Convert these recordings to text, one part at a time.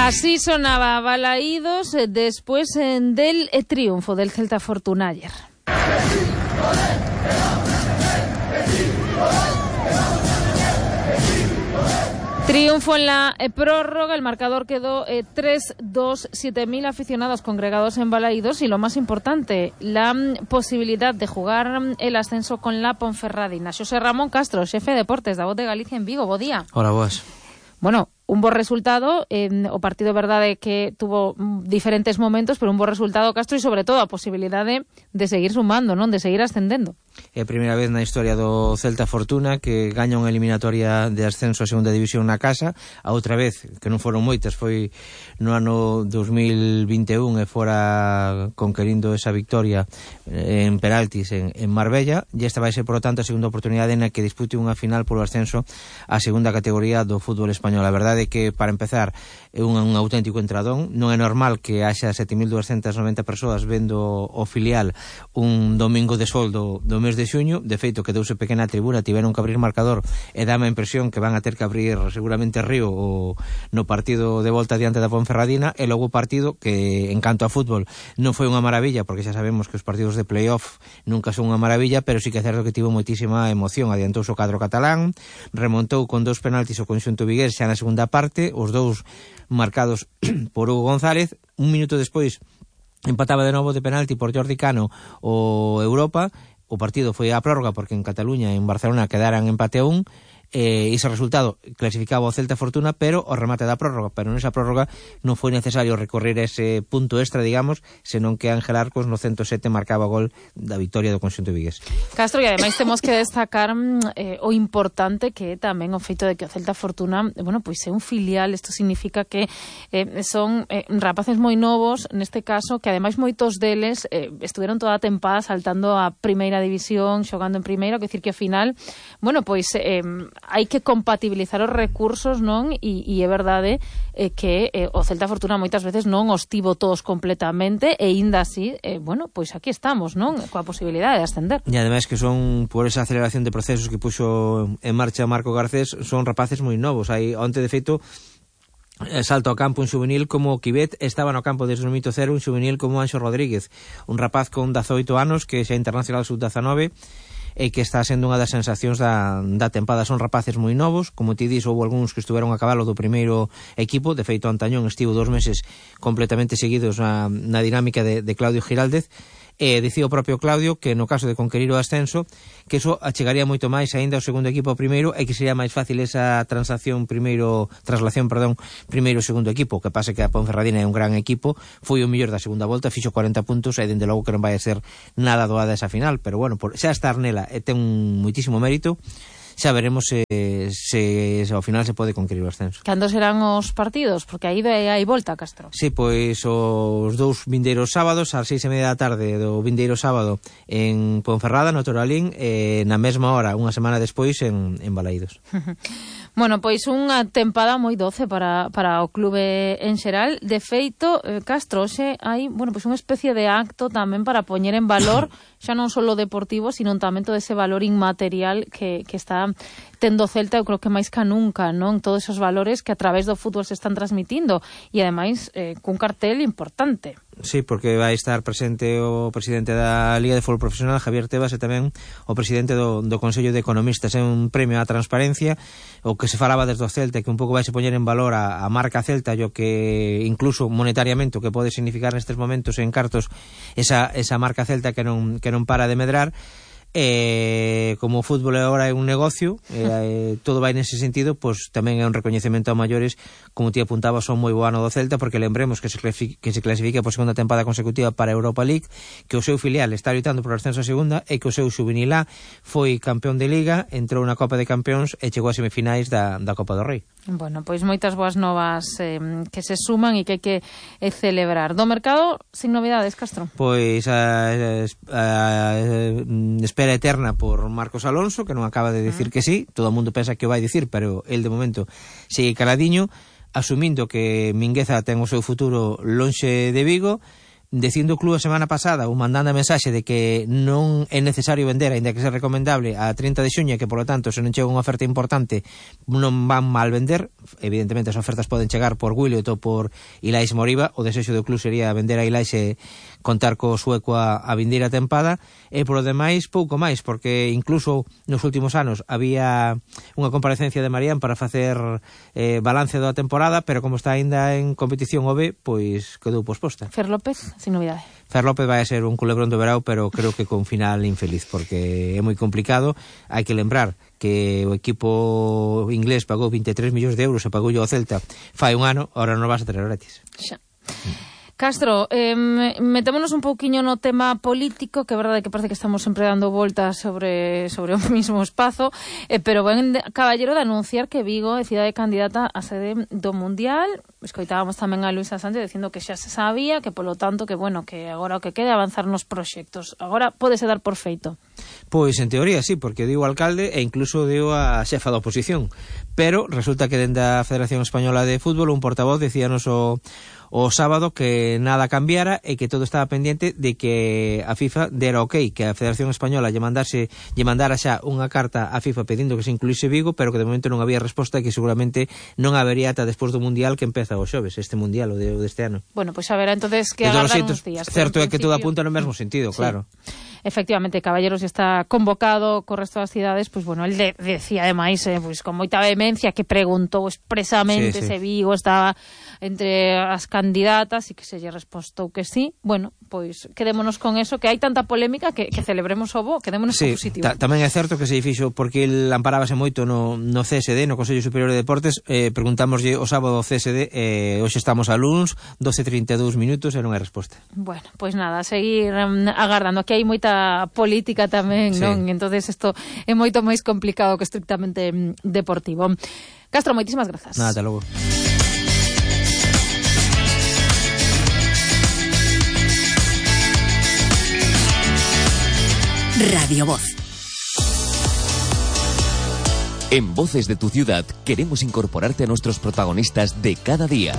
Así sonaba Balaídos después del triunfo del Celta Fortuna ayer. Triunfo en la prórroga, el marcador quedó 3-2, 7.000 aficionados congregados en Balaídos y lo más importante, la posibilidad de jugar el ascenso con la Ponferradina. Xosé Ramón Castro, xefe de deportes da Voz de Galicia en Vigo, bo día. Hola, boas. Bueno, un bo resultado, o partido verdade que tuvo diferentes momentos, pero un bo resultado, Castro, e sobre todo a posibilidade de seguir sumando, non, de seguir ascendendo. É a primeira vez na historia do Celta Fortuna que gaña unha eliminatoria de ascenso a segunda división na casa. A outra vez, que non foron moitas, foi no ano 2021 e fora conquerindo esa victoria en penaltis en Marbella, e esta vai ser, por lo tanto, a segunda oportunidade na que dispute unha final polo ascenso á segunda categoría do fútbol español. A verdade é que, para empezar, é un auténtico entradón. Non é normal que haxa 7.290 persoas vendo o filial un domingo de sol do mes de xuño. De feito, quedouse pequena tribuna, tiveron que abrir marcador e dá a impresión que van a ter que abrir seguramente Río no partido de volta diante da Ponferradina. E logo o partido que, en canto a fútbol, non foi unha maravilla, porque xa sabemos que os partidos de playoff nunca son unha maravilla, pero sí que é certo que tivo moitísima emoción. Adiantouse o cadro catalán, remontou con 2 penaltis o conxunto vigués xa na segunda parte, os dous marcados por Hugo González. Un minuto despois empataba de novo de penalti por Jordi Cano o Europa. O partido foi a prórroga porque en Cataluña e en Barcelona quedaran empate a 1. Ese resultado clasificaba o Celta Fortuna, pero o remate da prórroga, pero nesa prórroga non foi necesario recorrer ese punto extra, digamos, senón que Ángel Arcos no 107 marcaba o gol da victoria do conxunto vigués. Castro, e ademais temos que destacar o importante que é tamén o feito de que o Celta Fortuna, bueno, pois é un filial. Isto significa que son rapaces moi novos, neste caso, que ademais moitos deles estuveron toda a tempada saltando a primeira división, xogando en primeira, que decir que ao final, bueno, pois hai que compatibilizar os recursos, non? E é verdade que o Celta Fortuna moitas veces non os tivo todos completamente e ainda así, bueno, pois aquí estamos, non? Coa posibilidade de ascender. E ademais que son, por esa aceleración de procesos que puxo en marcha Marco Garcés, son rapaces moi novos. Hai onte, de feito, salto ao campo un xuvenil como Quibet, estaba no campo desde o minuto cero un xuvenil como Anxo Rodríguez, un rapaz con 18 anos que xa internacional sub-19 e que está sendo unha das sensacións da tempada. Son rapaces moi novos, como ti dis, houve algúns que estuveron a cabalo do primeiro equipo. De feito, Antañón estivo 2 meses completamente seguidos na dinámica de Claudio Giraldez. Dicía o propio Claudio que no caso de conquerir o ascenso, que eso achegaría moito máis aínda ao segundo equipo ao primeiro e que sería máis fácil esa traslación primeiro segundo equipo. O que pasa que a Ponferradina é un gran equipo, foi o mellor da segunda volta, fixo 40 puntos e dende logo que non vai a ser nada doada esa final, pero bueno, xa estar nela ten moitísimo mérito. Xa veremos se ao final se pode conquerir o ascenso. Cando serán os partidos? Porque aí hai volta, Castro. Sí, pois os dous vindeiros sábados, ás 6:30 da tarde do vindeiro sábado en Ponferrada, no Toralín, e na mesma hora, unha semana despois, en Balaídos. Bueno, pois unha tempada moi doce para o clube en xeral. De feito, Castro, hoxe hai, bueno, pois unha especie de acto tamén para poñer en valor xa non só o deportivo, sino tamén todo ese valor inmaterial que está tendo Celta, eu creo que máis que nunca, non? Todos esos valores que a través do fútbol se están transmitindo e ademais cun cartel importante. Sí, porque vai estar presente o presidente da Liga de Fútbol Profesional, Javier Tebas, e tamén o presidente do Consello de Economistas. É un premio á transparencia, o que se falaba desde o Celta, que un pouco vai se poñer en valor a marca Celta, e o que incluso monetariamente o que pode significar nestes momentos en cartos esa marca Celta que non para de medrar. Como o fútbol agora é un negocio, todo vai nese sentido, pois tamén é un recoñecemento a maiores, como ti apuntabas, son moi bo ano do Celta, porque lembremos que se clasifica por segunda tempada consecutiva para a Europa League, que o seu filial está loitando por o ascenso a segunda e que o seu xuvenil A foi campeón de Liga, entrou na Copa de Campeóns e chegou a semifinais da Copa do Rei. Bueno, pois moitas boas novas que se suman e que hai que celebrar. Do mercado, sin novidades, Castro? Pois a espera eterna por Marcos Alonso, que non acaba de decir que sí. Todo o mundo pensa que o vai dicir, pero el de momento sigue caladiño, asumindo que Mingueza ten o seu futuro lonxe de Vigo. dicindo o club a semana pasada ou mandando a mensaxe de que non é necesario vender, aínda que sea recomendable, a 30 de xuña, que polo tanto se non chega unha oferta importante non van mal vender. Evidentemente as ofertas poden chegar por Williot ou por Ilais Moriba. O desexo do club sería vender a Ilais e contar co sueco a vindeira tempada, e polo demais pouco máis, porque incluso nos últimos anos había unha comparecencia de Marián para facer balance da temporada, pero como está aínda en competición o B, pois quedou posposta. Fer López, sin novidade. Fer López vai a ser un culebrón do verao, pero creo que con final infeliz, porque é moi complicado. Hai que lembrar que o equipo inglés pagou 23 millóns de euros e pagou ao Celta fai un ano, ahora non vas a traer gratis. Xa. Castro, metémonos un pouquiño no tema político, que é verdade que parece que estamos sempre dando voltas sobre o mismo espazo, pero ben caballero de anunciar que Vigo é cidade candidata a sede do Mundial. Escoitábamos tamén a Luisa Sánchez dicindo que xa se sabía, que polo tanto que bueno, que agora o que quede avanzar nos proxectos. Agora pódese dar por feito. Pois en teoría sí, porque diu o alcalde e incluso diu a xefa da oposición, pero resulta que dende a Federación Española de Fútbol un portavoz decíanos o sábado que nada cambiara e que todo estaba pendiente de que a FIFA dera ok, que a Federación Española lle mandara xa unha carta a FIFA pedindo que se incluíse Vigo, pero que de momento non había resposta e que seguramente non habería ata despois do Mundial, que empeza o xoves, este Mundial, o deste ano. Bueno, pois a ver, entonces que agardan uns días. Certo é que todo apunta no mesmo sentido, claro. Sí. Efectivamente, Caballeros está convocado co resto das cidades, pois bueno, el decía ademais, pois con moita vehemencia que preguntou expresamente se Vigo estaba entre as candidatas e que se lle respostou que sí. Bueno, pois quedémonos con eso, que hai tanta polémica que celebremos o bo, quedémonos con positivo. Tamén é certo que se fixo porque el amparábase moito no CSD, no Consello Superior de Deportes. Preguntámoslle o sábado ao CSD, hoxe estamos a luns, 12:32 minutos e non hai resposta. Bueno, pois nada, seguir agardando. Aquí hai moita política tamén, non? Entonces isto é moito máis complicado que estrictamente deportivo. Castro, moitísimas grazas. Nada, ata logo. Radio Voz. En Voces de tu Ciudad queremos incorporarte a nuestros protagonistas de cada día.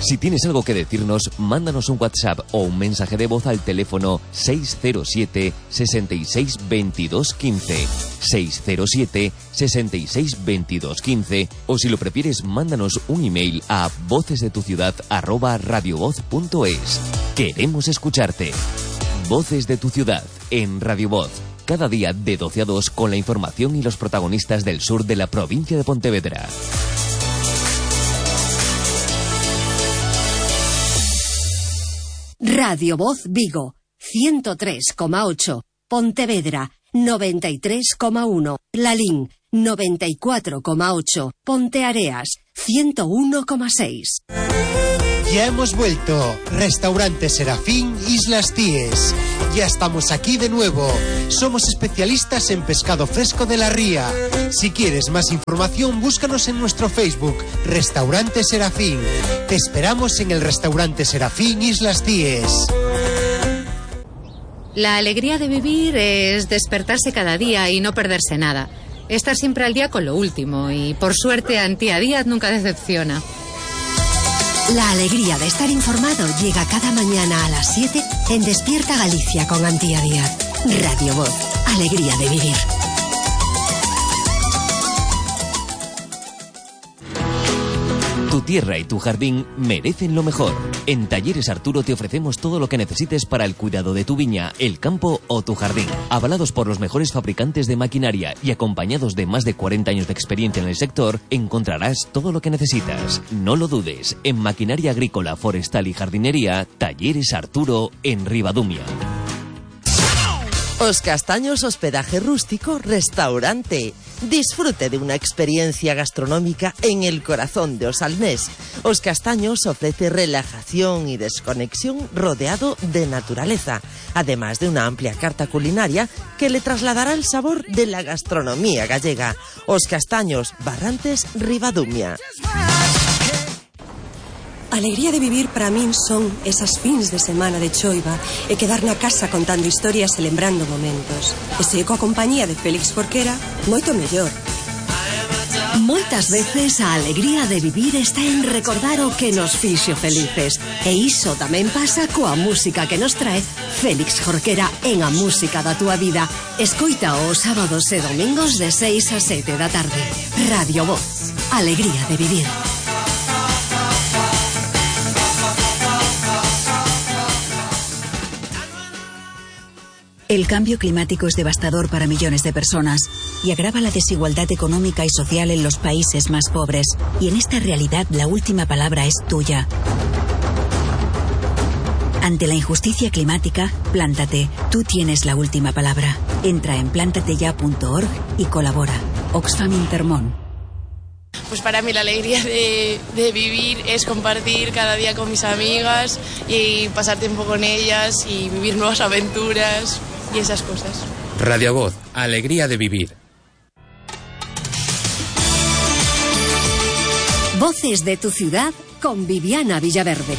Si tienes algo que decirnos, mándanos un WhatsApp o un mensaje de voz al teléfono 607 66 22 15, 607 66 22 15, o si lo prefieres, mándanos un email a vocesdetuciudad@radiovoz.es. Queremos escucharte. Voces de tu Ciudad en Radio Voz. Cada día de 12 a 2 con la información y los protagonistas del sur de la provincia de Pontevedra. Radio Voz Vigo, 103,8. Pontevedra, 93,1. Lalín, 94,8. Ponteareas, 101,6. Ya hemos vuelto. Restaurante Serafín Islas Cíes. Ya estamos aquí de nuevo. Somos especialistas en pescado fresco de la ría. Si quieres más información, búscanos en nuestro Facebook, Restaurante Serafín. Te esperamos en el Restaurante Serafín Islas Cíes. La alegría de vivir es despertarse cada día y no perderse nada. Estar siempre al día con lo último y, por suerte, Antía Díaz nunca decepciona. La alegría de estar informado llega cada mañana a las 7 en Despierta Galicia con Antía Díaz. Radio Voz, alegría de vivir. Tu tierra y tu jardín merecen lo mejor. En Talleres Arturo te ofrecemos todo lo que necesites para el cuidado de tu viña, el campo o tu jardín. Avalados por los mejores fabricantes de maquinaria y acompañados de más de 40 años de experiencia en el sector, encontrarás todo lo que necesitas. No lo dudes, en maquinaria agrícola, forestal y jardinería, Talleres Arturo en Ribadumia. Os Castaños Hospedaje Rústico Restaurante. Disfrute de una experiencia gastronómica en el corazón de Osalnés. Os Castaños ofrece relajación y desconexión rodeado de naturaleza, además de una amplia carta culinaria que le trasladará el sabor de la gastronomía gallega. Os Castaños, Barrantes, Ribadumia. Alegría de vivir para min son esas fins de semana de choiva e quedar na casa contando historias e lembrando momentos. E se coa compañía de Félix Forquera, moito mellor. Moito Moitas veces a alegría de vivir está en recordar o que nos fixo felices. E iso tamén pasa coa música que nos trae Félix Jorquera en A Música da Túa Vida. Escoita os sábados e domingos de 6 a 7 da tarde. Radio Voz. Alegría de vivir. El cambio climático es devastador para millones de personas y agrava la desigualdad económica y social en los países más pobres. Y en esta realidad la última palabra es tuya. Ante la injusticia climática, plántate. Tú tienes la última palabra. Entra en plantateya.org y colabora. Oxfam Intermón. Pues para mí la alegría de vivir es compartir cada día con mis amigas y pasar tiempo con ellas y vivir nuevas aventuras y esas cosas. Radio Voz, alegría de vivir. Voces de tu ciudad con Viviana Villaverde.